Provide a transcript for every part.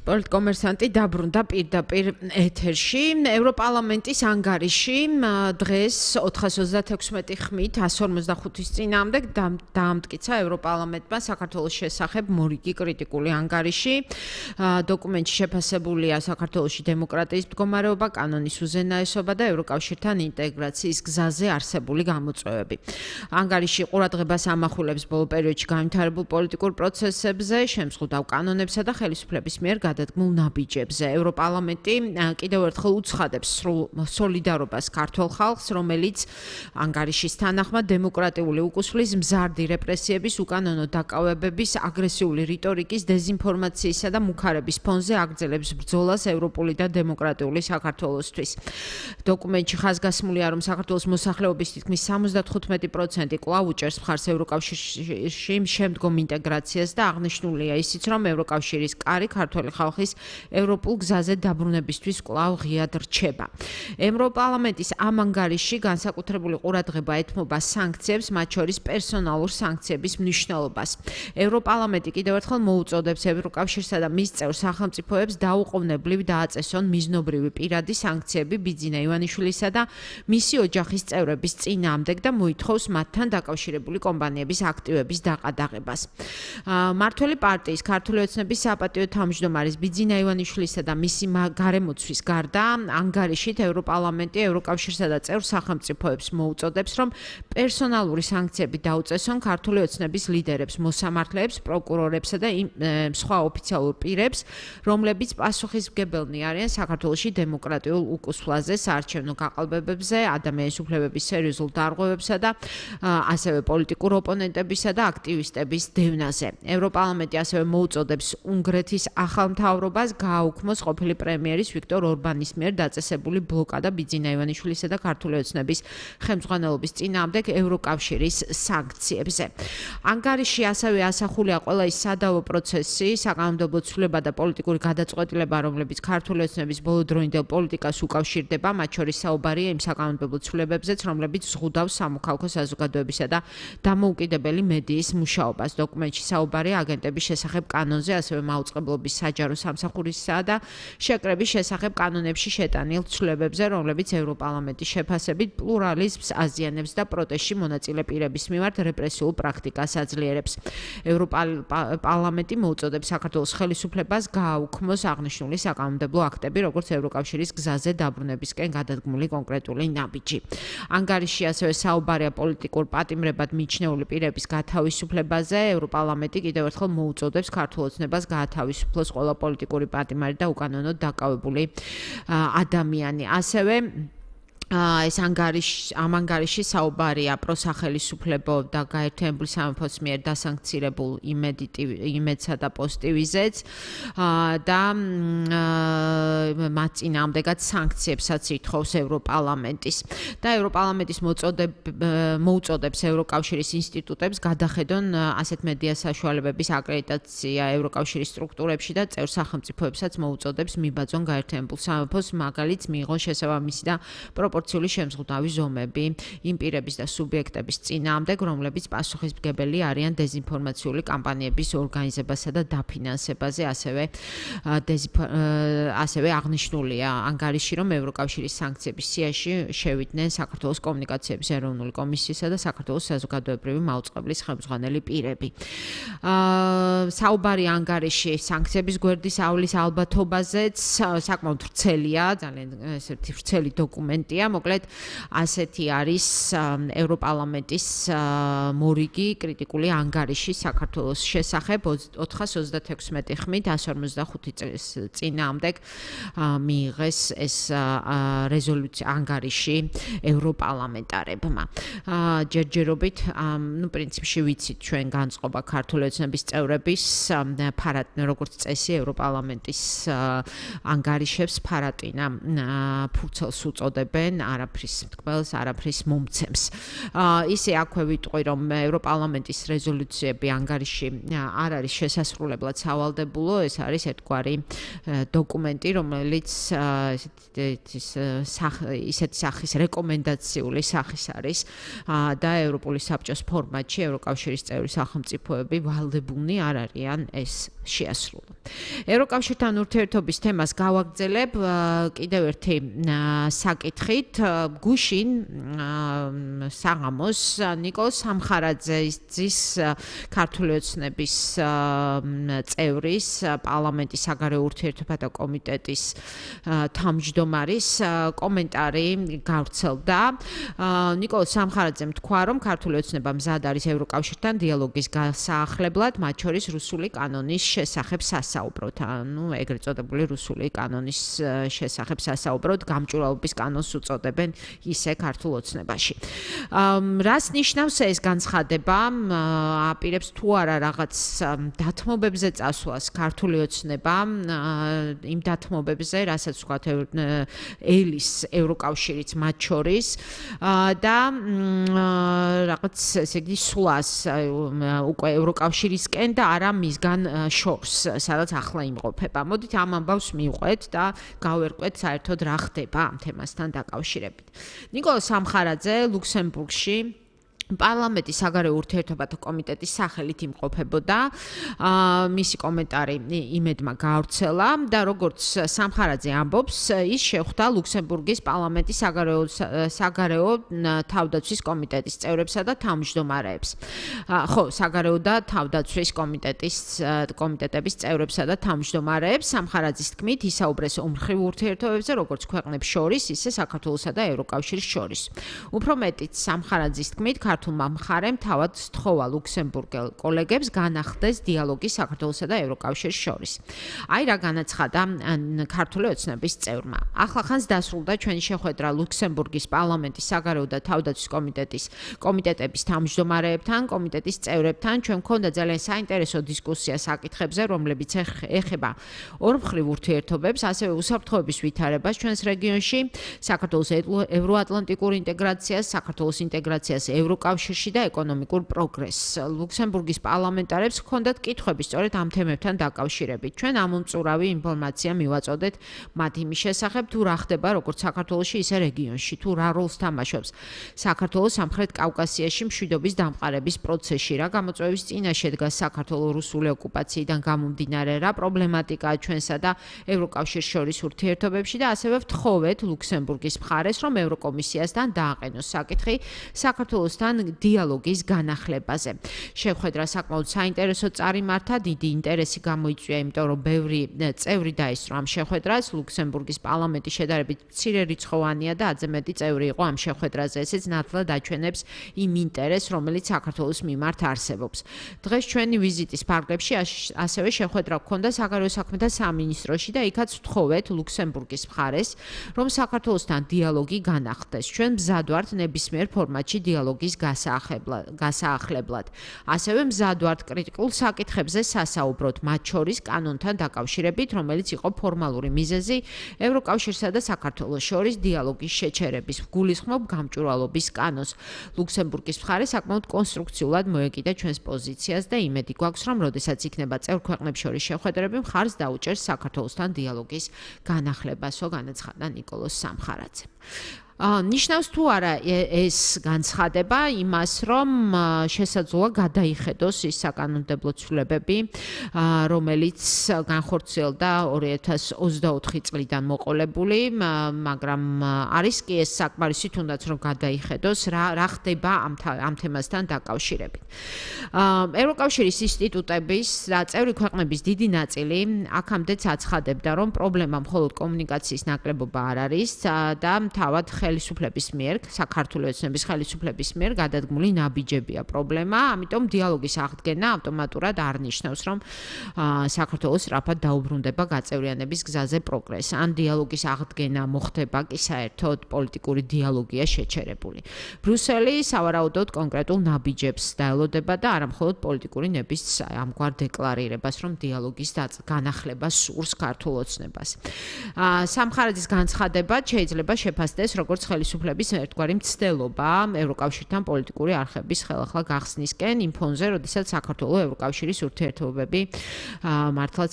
პოლიტკომერსანტი დაბრუნდა პირდაპირ ეთერში. ევროპარლამენტის ანგარიში დღეს 436 ხმით 155-ის წინააღმდეგ დაამტკიცა ევროპარლამენტმა საქართველოს შესახებ მორიგი კრიტიკული ანგარიში. დოკუმენტში შეფასებულია საქართველოში დემოკრატიის მდგომარეობა, კანონის უზენაესობა და ევროკავშირთან ინტეგრაციის გზაზე არსებული გამოწვევები. ანგარიში ყურადღებას ამახვილებს ბოლო პერიოდში განვითარებულ პოლიტიკურ პროცესებზე, შემზღუდავ კანონებსა და ხელისუფლების მიერ გადადგმულ ნაბიჯებზე. ევროპარლამენტი კიდევ ერთხელ უცხადებს სოლიდარობას ქართველ ხალხს, რომელიც ანგარიშის თანახმად დემოკრატიული უკუსვლის, მზარდი რეპრესიების, უკანონო დაკავებების, აგრესიული რიტორიკის, დეზინფორმაციისა და მუქარების ფონზე აგრძელებს ბრძოლას ევროპული და დემოკრატიული საქართველოსთვის. დოკუმენტში ხაზგასმულია, რომ საქართველოს მოსახლეობის თითქმის 75% კვლავ უჭერს მხარს ევროკავშირში შემდგომ ინტეგრაციას და აღნიშნულია ისიც, რომ ევროკავშირის კარი ქართველი ხალხის ევროპულ გზაზე დაბრუნებისთვის კვლავ ღიად რჩება. ევროპარლამენტის ამ ანგარიში განსაკუთრებული ყურადღება ეთმობა სანქციებს, მათ შორის პერსონალურ სანქციების მნიშვნელობას. ევროპარლამენტი კიდევ ერთხელ მოუწოდებს ევროკავშირსა და მის წევრ სახელმწიფოებს დაუყოვნებლივ დააწესონ მიზნობრივი პირადი სანქციები ბიძინა ივანიშვილისა და მისი ოჯახის წევრების წინააღმდეგ და მოითხოვს მათთან დაკავშირებული კომპანიების აქტივების დაყადაღებას. მმართველი პარტიის ქართული ოცნების საპატიო თავმჯდომარის ბიძინა ივანიშვილისა და მისი გარემოცვის გარდა ანგარიშით ევროპარლამენტი ევროკავშირსა და წევრ სახელმწიფოებს მოუწოდებს, რომ პერსონალური სანქციები დაუწესონ ქართული ოცნების ლიდერებს, მოსამართლეებს, პროკურორებსა და სხვა ოფიციალურ პირებს, რომლებიც პასუხისმგებელნი არიან საქართველოში დემოკრატიულ უკუსვლაზე, საარჩევნო გაყალბებებზე, ადამიანის უფლებების სერიოზულ დარღვევებსა და ასევე პოლიტიკურ ოპონენტებისა და აქტივისტების დევნაზე. ევროპარლამენტი ასევე მოუწოდებს უნგრეთის ახალ მთავრობას გააუქმოს ყოფილი პრემიერის ვიქტორ ორბანის მიერ დაწესებული ბლოკადა ბიძინა ივანიშვილისა და ქართული ოცნების ხელმძღვანელობის წინააღმდეგ ევროკავშირის სანქციებზე. ანგარიში ასევე ასახულია ყველა ის სადავო პროცესი, საკანონმდებლო ცვლილება და პოლიტიკური გადაწყვეტილება, რომლებიც ქართული ოცნების ბოლოდროინდელ პოლიტიკას უკავშირდება, მათ შორის საუბარია იმ საკანონმდებლო ცვლილებებზეც, რომლებიც ზღუდავს სამოქალაქო საზოგადოებისა და დამოუკიდებელი მედიის მუშაობას. დოკუმენტში საუბარია აგენტების შესახებ კანონზე, ასევე მაუწყებლობის საჯარო სამსახურისა და შეკრების შესახებ კანონებში შეტანილ ცვლილებებზე, რომლებიც ევროპარლამენტის შეფასებით პლურალიზმს აზიანებს და პროტესტში მონაწილე პირების მიმართ რეპრესიულ პრაქტიკას აძლიერებს. ევროპარლამენტი მოუწოდებს საქართველოს ხელისუფლებას გააუქმოს აღნიშნული საკანონმდებლო აქტები, როგორც ევროკავშირის გზაზე დაბრუნებისკენ გადადგმული კონკრეტული ნაბიჯი. ანგარიში ასევე საუბარია პოლიტიკურ პატიმრებად მიჩნეული პირების გათავისუფლებაზე. ევროპარლამენტი კიდევ ერთხელ მოუწოდებს ქართულ ოცნებას გაათავისუფლოს ყველა პოლიტიკური პატიმარი და უკანონო დაკავებული ადამიანი. ასევე ამ ანგარიში საუბარია პროსახელისუფლებო და გაერთიანებული სამეფოს მიერ დასანქცირებულ იმედსა და პოსტივიზეც და მათ წინააღმდეგაც სანქციებსაც ითხოვს ევროპარლამენტის და ევროპარლამენტის მოუწოდებს ევროკავშირის ინსტიტუტებს გადახედონ ასეთ მედია საშუალებების აკრედიტაცია ევროკავშირის სტრუქტურებში და წევრ სახელმწიფოებსაც მოუწოდებს მიბაძონ გაერთიანებულ სამეფოს მაგალითს მიიღონ შესაბამისი და პროპორციული შემზღუდავი ზომები იმ პირების და სუბიექტების წინააღმდეგ, რომლებიც პასუხისმგებელი არიან დეზინფორმაციული კამპანიების ორგანიზებასა და დაფინანსებაზე, ასევე აღნიშნულია ანგარიში, რომ ევროკავშირის სანქციების სიაში შევიდნენ საქართველოს კომუნიკაციების ეროვნული კომისიისა და საქართველოს საზოგადოებრივი მაუწყებლის ხელმძღვანელი პირები. საუბარი ანგარიში სანქციების გვერდის ავლის ალბათობაზეც საკმაოდ ვრცელია, ძალიან ესეთი ვრცელი დოკუმენტია. მოკლედ ასეთი არის ევროპარლამენტის მორიგი კრიტიკული ანგარიში საქართველოს შესახებ 436 ხმით 155 წლის წინააღმდეგ მიიღეს ეს რეზოლუცია ანგარიში ევროპარლამენტარებმა. ჯერჯერობით, პრინციპში ვიცით ჩვენ განწყობა ქართული ოცნების წევრების როგორც წესი ევროპარლამენტის ანგარიშებს ფარატინა ფურცელს უწოდებენ, არაფრის მტკბელს, არაფრის მომცემს. ისე აქვე ვიტყვი, რომ ევროპარლამენტის რეზოლუციები ანგარიში არ არის შესასრულებლად სავალდებულო, ეს არის ერთგვარი დოკუმენტი, რომელიც ისეთი სახის რეკომენდაციული სახის არის და ევროპული საბჭოს ფორმატში ევროკავშირის წევრი სახელმწიფოები ვალდებულნი არ არიან ეს შეასრულა. ევროკავშირთან ურთიერთობის თემას გავაგრძელებ კიდევ ერთი საკითხით. გუშინ საღამოს ნიკოლოზ სამხარაძის ქართული ოცნების წევრის პარლამენტის საგარეო ურთიერთობათა კომიტეტის თავმჯდომარის კომენტარი გავრცელდა. ნიკოლოზ სამხარაძემ თქვა, რომ ქართული ოცნება მზად არის ევროკავშირთან დიალოგის გასაახლებლად, მათ შორის რუსული კანონის შესახებ სასაუბროთ, ეგრეთ წოდებული რუსული კანონის შესახებ სასაუბროთ, გამჭვირვალობის კანონს უწოდებენ ისე ქართულ ოცნებაში. რას ნიშნავს ეს განცხადება? აპირებს თუ არა რაღაც დათმობებზე წასვლას ქართული ოცნება, იმ დათმობებზე, რასაც ვთქვათ ელის ევროკავშირიც მათ შორის და რაღაც ესე იგი სვლას უკვე ევროკავშირისკენ და არა მისგან შორს, სადაც ახლა იმყოფება. მოდით ამ ამბავს მივყვეთ და გავერკვეთ საერთოდ რა ხდება ამ თემასთან დაკავშირებით. ნიკოლოზ სამხარაძე ლუქსემბურგში პარლამენტის საგარეო ურთიერთობათა კომიტეტის სახელით იმყოფებოდა. მისი კომენტარი იმედმა გავრცელა და როგორც სამხარაძე ამბობს, ის შეხვდა ლუქსემბურგის პარლამენტის საგარეო თავდაცვის კომიტეტის წევრებსა და თავმჯდომარეებს. საგარეო და თავდაცვის კომიტეტების წევრებსა და თავმჯდომარეებს. სამხარაძის თქმით, ისაუბრეს ომხრივ ურთიერთობებზე, როგორც ქვეყნებს შორის, ისე საქართველოსა და ევროკავშირის შორის. უფრო მეტიც, სამხარაძის თქმით, ქართულმა მხარემ თავად სთხოვა ლუქსემბურგელ კოლეგებს განახდეს დიალოგი საქართველოსა და ევროკავშირის შორის. აი რა განაცხადა ქართული ოცნების წევრმა. ახლახანს დასრულდა ჩვენი შეხვედრა ლუქსემბურგის პარლამენტის საგარეო და თავდაცვის კომიტეტების თავმჯდომარეებთან, კომიტეტის წევრებთან. ჩვენ გქონდა ძალიან საინტერესო დისკუსია საკითხებზე, რომლებიც ეხება ორმხრივ ურთიერთობებს, ასევე უსაფრთხოების ვითარებას ჩვენს რეგიონში, საქართველოს ევროატლანტიკურ ინტეგრაციას, საქართველოს ინტეგრაციას ევროკავშირში და ეკონომიკურ პროგრესს. ლუქსემბურგის პარლამენტარებს ჰქონდათ კითხვები სწორედ ამ თემებთან დაკავშირებით. ჩვენ ამომწურავი ინფორმაცია მივაწოდეთ მათ იმის შესახებ, თუ რა ხდება როგორც საქართველოში, ისე რეგიონში, თუ რა როლს თამაშობს საქართველოს სამხრეთ კავკასიაში მშვიდობის დამყარების პროცესში, რა გამოწვევის წინაშე დგას საქართველოს რუსული ოკუპაციიდან გამომდინარე, რა პრობლემატიკაა ჩვენსა და ევროკავშირის შორის ურთიერთობებში და ასევე ვთხოვეთ ლუქსემბურგის მხარეს, რომ ევროკომისიასთან დააყენოს საკითხი საქართველოსთან დიალოგის განახლებაზე. შეხვედრა საკმაოდ საინტერესო წარიმართა, დიდი ინტერესი გამოიწვია, იმიტომ რომ ბევრი წევრი დაესწრო ამ შეხვედრას. ლუქსემბურგის პარლამენტი შედარებით მცირერიცხოვანია და ათზე მეტი წევრი იყო ამ შეხვედრაზე. ესეც ნათლად აჩვენებს იმ ინტერესს, რომელიც საქართველოს მიმართ არსებობს. დღეს ჩვენი ვიზიტის ფარგლებში ასევე შეხვედრა გქონდა საგარეო საქმეთა სამინისტროში და იქაც ვთხოვეთ ლუქსემბურგის მხარეს, რომ საქართველოსთან დიალოგი განახდეს. ჩვენ მზად ვართ ნებისმიერ ფორმატში დიალოგის გასაახლებლად. ასევე მზად ვართ კრიტიკულ საკითხებზე სასაუბროთ, მათ შორის კანონთან დაკავშირებით, რომელიც იყო ფორმალური მიზეზი ევროკავშირსა და საქართველოს შორის დიალოგის შეჩერების. ვგულისხმობ გამჭვირვალობის კანონს. ლუქსემბურგის მხარე საკმაოდ კონსტრუქციულად მოეკიდა ჩვენს პოზიციას და იმედი გვაქვს, რომ როდესაც იქნება წევრ ქვეყნებს შორის შეხვედრები, მხარს დაუჭერს საქართველოსთან დიალოგის განახლებასო, განაცხადა ნიკოლოზ სამხარაძემ. ნიშნავს თუ არა ეს განცხადება იმას, რომ შესაძლოა გადაიხედოს ის საკანონმდებლო ცვლილებები, რომელიც განხორციელდა 2024 წლიდან მოყოლებული, მაგრამ არის კი ეს საკმარისი თუნდაც რომ გადაიხედოს რა ხდება ამ თემასთან დაკავშირებით. ევროკავშირის ინსტიტუტების და წევრი ქვეყნების დიდი ნაწილი აქამდეც აცხადებდა, რომ პრობლემა მხოლოდ კომუნიკაციის ნაკლებობა არ არის და თავად ხელისუფლების მიერ, საქართველოს ოცნების ხელისუფლების მიერ გადადგმული ნაბიჯებია პრობლემა, ამიტომ დიალოგის აღდგენა ავტომატურად არ ნიშნავს, რომ საქართველოს სწრაფად დაუბრუნდება გაწევრიანების გზაზე პროგრესს. ან დიალოგის აღდგენა მოხდება კი საერთოდ პოლიტიკური დიალოგია შეჩერებული. ბრიუსელი სავარაუდოდ კონკრეტულ ნაბიჯებს დაელოდება და არა მხოლოდ პოლიტიკური ნების ამგვარ დეკლარირებას, რომ დიალოგის განახლება სურს ქართულ ოცნებას. სამხარაძის განცხადება შეიძლება შეფასდეს როგორც როგორც ხელისუფლების ერთგვარი მცდელობა ევროკავშირთან პოლიტიკური არხების ხელახლა გახსნისკენ იმ ფონზე, როდესაც საქართველოს ევროკავშირის ურთიერთობები მართლაც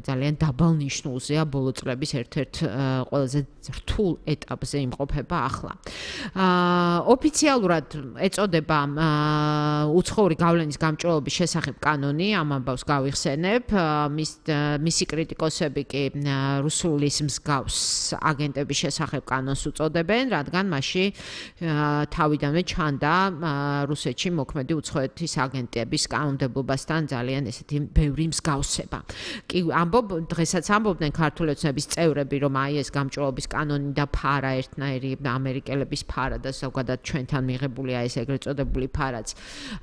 ძალიან დაბალ ნიშნულზეა ბოლო წლების ერთ-ერთ ყველაზე რთულ ეტაპზე იმყოფება ახლა. ოფიციალურად ეწოდება უცხოური გავლენის გამჭვირვალობის შესახებ კანონი, ამ ამბავს გავიხსენებ. მისი კრიტიკოსები კი რუსულის მსგავს აგენტების შესახებ კანონს უწოდებენ, რადგან მასში თავიდანვე ჩანდა რუსეთში მოქმედი უცხოეთის აგენტების კანონმდებლობასთან ძალიან ესეთი ბევრი მსგავსება. კი დღესაც ამბობდნენ ქართული ოცნების წევრები, რომ აი ეს გამჭვირვალობის კანონი და ფარა ერთნაირი ამერიკელების ფარა და ზოგადად ჩვენთან მიღებული აი ეს ეგრეთ წოდებული ფარაც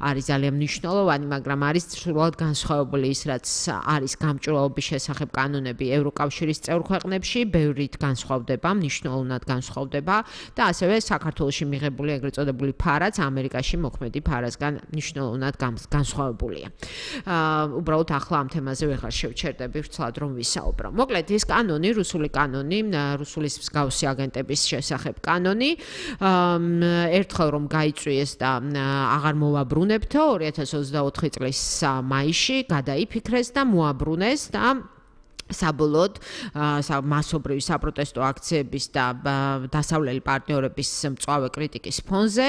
არის ძალიან მნიშვნელოვანი, მაგრამ არის სრულად განსხვავებული ის, რაც არის გამჭვირვალობის შესახებ კანონები ევროკავშირის წევრ ქვეყნებში, ბევრით განსხვავდება, მნიშვნელოვნად განსხვავდება და ასევე საქართველოში მიღებული ეგრეთ წოდებული ფარაც ამერიკაში მოქმედი ფარასგან მნიშვნელოვნად განსხვავებულია. უბრალოდ ახლა ამ თემაზე ვეღარ შევჩერდები, ვცლად რომ ვისაუბრო. მოკლედ ის კანონი, რუსული კანონი, რუსულის მსგავსი აგენტების შესახებ კანონი, ერთხელ რომ გაიწვიეს და აღარ მოვაბრუნებთო 2024 წლის მაისში გადაიფიქრეს და მოაბრუნეს და საბოლოოდ მასობრივი საპროტესტო აქციების და დასავლელი პარტნიორების მწვავე კრიტიკის ფონზე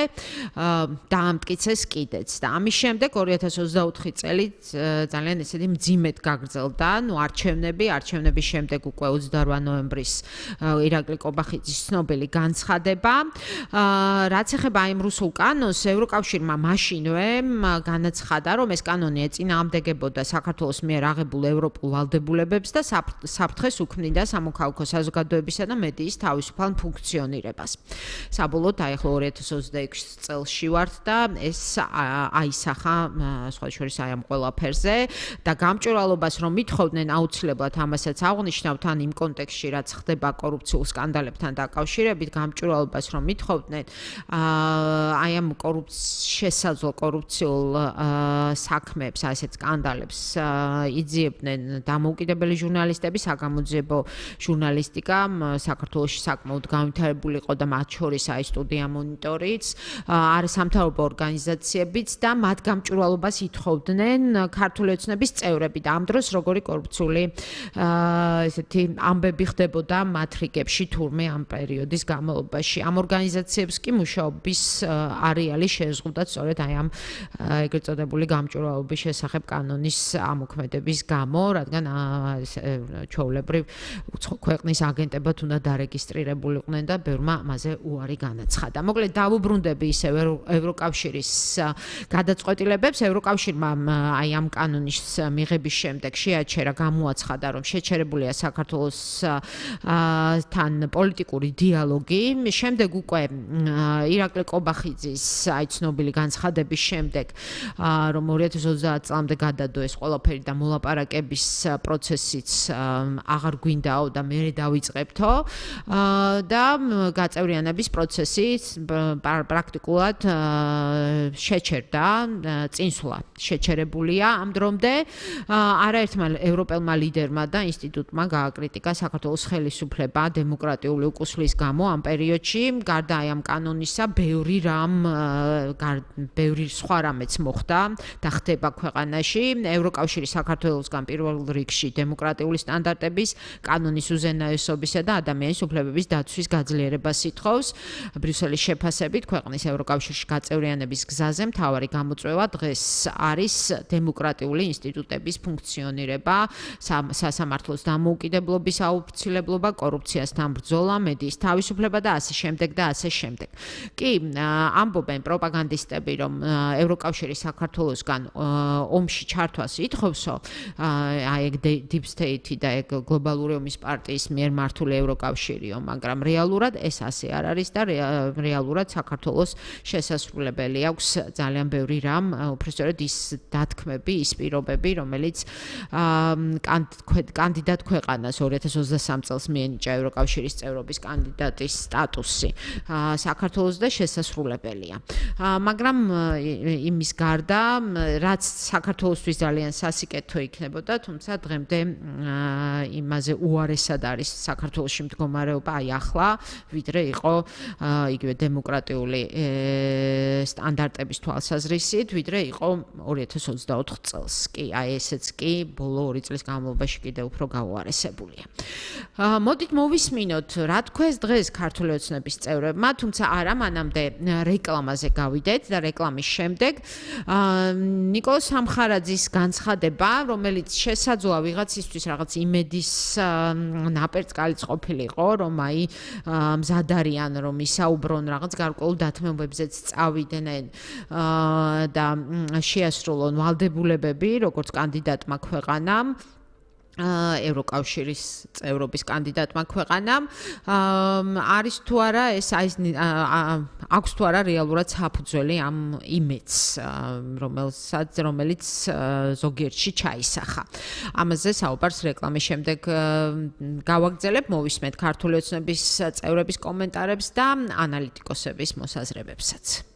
დაამტკიცეს კიდეც და ამის შემდეგ 2024 წელი ძალიან ესეთი მძიმედ გაგრძელდა, არჩევნების შემდეგ უკვე 28 ნოემბრის ირაკლი კობახიძის ცნობილი განცხადება. რაც ეხება იმ რუსულ კანონს, ევროკავშირმა მაშინვე განაცხადა, რომ ეს კანონი ეწინააღმდეგებოდა საქართველოს მიერ აღებულ ევროპულ ვალდებულებებს და საფრთხეს უქმნიდა სამოქალაქო საზოგადოებისა და მედიის თავისუფალ ფუნქციონირებას. საბოლოოდ აი ახლა 2026 წელში ვართ და ეს აისახა სხვა შორის აი ამ ყველაფერზე და გამჭვირვალობას რომ მithხოვდნენ აუცილებლად ამასაც აღნიშნავთ ან იმ კონტექსტში რაც ხდება კორუფციულ სკანდალებთან დაკავშირებით, გამჭვირვალობას რომ მithხოვდნენ აი ამ შესაძლო კორუფციულ საქმეებს, აი ესეთ სკანდალებს იძიებდნენ დამოუკიდებელი ჟურნალისტები, საგამოძიებო ჟურნალისტიკა საქართველოში საკმაოდ განვითარებული იყო და მათ შორის აი სტუდია მონიტორიც, არასამთავრობო ორგანიზაციებიც და მათ გამჭვირვალობას ითხოვდნენ ქართული ოცნების წევრები და ამ დროს როგორი კორუფციული ესეთი ამბები ხდებოდა მათ რიგებში თურმე ამ პერიოდის განმავლობაში. ამ ორგანიზაციებს კი მუშაობის არეალი შეეზღუდათ სწორედ აი ამ ეგრეთ წოდებული გამჭვირვალობის შესახებ კანონის ამოქმედების გამო, რადგან ჩვეულებრივ უცხო ქვეყნის აგენტებად უნდა დარეგისტრირებულიყვნენ და ბევრმა ამაზე უარი განაცხადა. მოკლედ დავუბრუნდები ისევ ევროკავშირის გადაწყვეტილებებს. ევროკავშირმა აი ამ კანონის მიღების შემდეგ შეაჩერა, გამოაცხადა, რომ შეჩერებულია საქართველოს თან პოლიტიკური დიალოგი. შემდეგ უკვე ირაკლი კობახიძის აი ცნობილი განცხადების შემდეგ, რომ 2030 წლამდე გადადო ეს ყველაფერი და მოლაპარაკების პროცესიც აღარ გვინდაო და მე დავიწყებთო და გაწევრიანების პროცესი პრაქტიკულად შეჩერდა, წინსვლა შეჩერებულია ამ დრომდე. არაერთმა ევროპელმა ლიდერმა და ინსტიტუტმა გააკრიტიკა საქართველოს ხელისუფლება დემოკრატიული უკუსლის გამო ამ პერიოდში. გარდა აი ამ კანონისა, ბევრი სხვა რამეც მოხდა და ხდება ქვეყანაში. ევროკავშირი საქართველოსგან პირველ რიგში დემოკრატიული სტანდარტების, კანონის უზენაესობისა და ადამიანის უფლებების დაცვის გაძლიერებას ითხოვს. ბრიუსელის შეფასებით ქვეყნის ევროკავშირში გაწევრიანების გზაზე მთავარი გამოწვევა დღეს არის დემოკრატიული ინსტიტუტების ფუნქციონირება, სასამართლოს დამოუკიდებლობის აუცილებლობა, კორუფციასთან ბრძოლა, მედიის თავისუფლება და ასე შემდეგ და ასე შემდეგ. კი, ამბობენ პროპაგანდისტები, რომ ევროკავშირი საქართველოსგან ომში ჩართვას ითხოვსო, აი ეგ Deep State და ეგ გლობალური ომის პარტიის მიერ მართული ევროკავშირიო, მაგრამ რეალურად ეს ასე არ არის და რეალურად საქართველოს შესასრულებელი აქვს ძალიან ბევრი რამ, უბრალოდ ის დათქმები, ის პირობები, რომელიც კანდიდატ ქვეყანას 2023 წელს მიენიჭა ევროკავშირის წევრობის კანდიდატის სტატუსი საქართველოს და შესასრულებელია. მაგრამ იმის გარდა, რაც საქართველოსთვის ძალიან სასიკეთო იქნებოდა, თუმცა დღემდე იმაზე უარესად არის საქართველოში მდგომარეობა აი ახლა, ვიდრე იყო იგივე დემოკრატიული სტანდარტების თვალსაზრისით, ვიდრე იყო 2024 წელს. კი, აი ესეც კი ბოლო 2 წლის განმავლობაში კიდევ უფრო გაუარესებულია. მოდით მოვისმინოთ, რა თქვეს დღეს ქართული ოცნების წევრებმა, თუმცა არა მანამდე რეკლამაზე გავიდეთ და რეკლამის შემდეგ ნიკოლოზ სამხარაძის განცხადება, რომელიც შესაძლოა ვიღაცისთვის რაღაც იმედის ნაპერწკალიც ყოფილიყო, რომ აი მზად არიან რომ ისაუბრონ რაღაც გარკვეულ დათმობებზეც წავიდნენ და შეასრულონ ვალდებულებები, როგორც კანდიდატმა ქვეყანამ ევროკავშირის წევრობის კანდიდატმა ქვეყანამ არის თუ არა ეს აქვს თუ არა რეალურად საფუძველი ამ იმედს რომელიც ზოგიერთში ჩაისახა. ამაზე საუბარს რეკლამის შემდეგ გავაგრძელებ, მოვისმენთ ქართული ოცნების წევრების კომენტარებს და ანალიტიკოსების მოსაზრებებსაც.